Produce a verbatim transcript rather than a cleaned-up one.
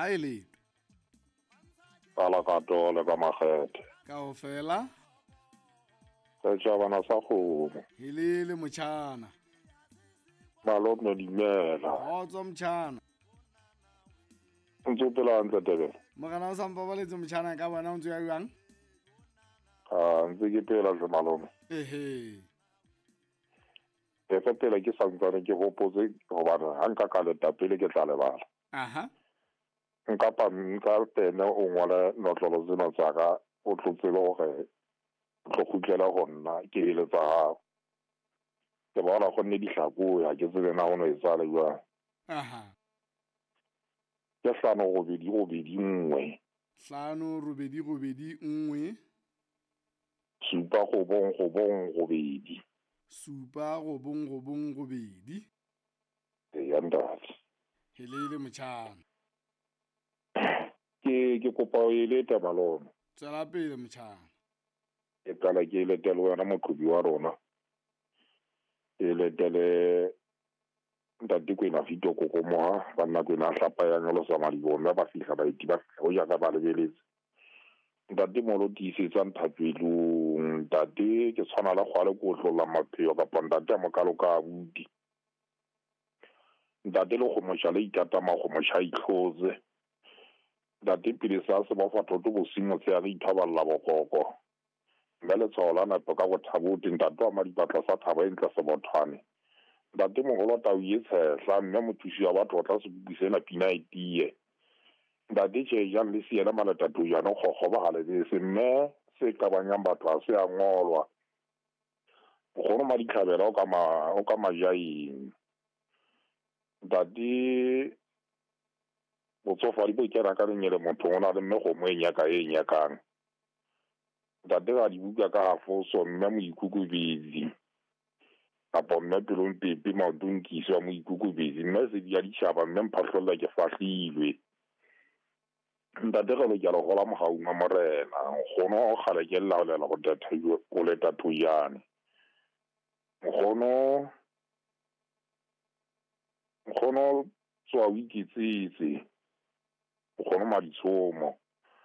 Ha e lete. Ka la katole ka makgethe. Kaofela. Setjhabana sa kgomo. Helele motjhana. Malome dumela. Kgotso motjhana. Ntse o phela hantle Tebele? Morena o sa mpabaletse motjhana ka bona o ntse o ya jwang? Ah, ntse ke phela hle malome. Ehe. E fe pele ke santsane ke hopotse hobane ha nka ka leta pele ke tla lebala. Aha. Nka pa nka pene o ngole notlolo tsena tsa ka o tlo tsebe hore o tlo kgutlela ho nna ke eletsa hao. Ke bona go nne dihlako ya ke tsebe na ho no etsahala jwang. Aha. Ke hlano robedi robedi nngwe. Hlano robedi robedi nngwe. Supa robong robong robedi. Supa robong robong robedi. Eya ntate. Helele motjhana. Ke ke kopa o elete malome. Tswela pele motjhana. Ke qala ke elete le wena moqhobi wa rona. Ke eletele ntate Kwena Vito Kokomoha, banna Kwena a hlapa ya nyolosa madiboho, mme ba fihla baeti ba fihla ho ja ka ba lebeletse. Ntate Molo tiisetsa nthapelong, ntate ke tshwana le kgwale ke otlolla mapheo kapa ntate a mokalo ka abuti. Ntate le kgomosha le ikata makgomosha a itlhotse. Ntate pele sa se ba fa thoto bosiu motshehare ithoballa bokoko. Mme letshwao la nepo ka bothabote ntate wa madipatla sa thaba e ntle sebothwane. Ntate moholo tau e tshehla mme mothusi wa batho o tla sebopi sena pina e tiye. Ntate tjhe jang le siele maletatojane kgokgoba ha lebese mme se qabanyang batho ha se a ngolwa. Nkgono Maditlhabela o ka ma o ka majaeng. Ntate botsofadi bo kena ka lenyele motho o na le mme kgomo e nyaka e nyakang. Ntate ga dibuka ka hafoso mme moikokobetsi. Kapa mme pelong pepe maotong ke iswa moikokobetsi mme sedi ya ditjhaba mme mphahlolla ke fahlilwe. Ntate re lokela ho hola mohaung wa morena. Nkgono kgale ke laolela ho tata ho leta thoyane. Nkgono nkgono tswa o iketsetse. Nkgono Maditshomo.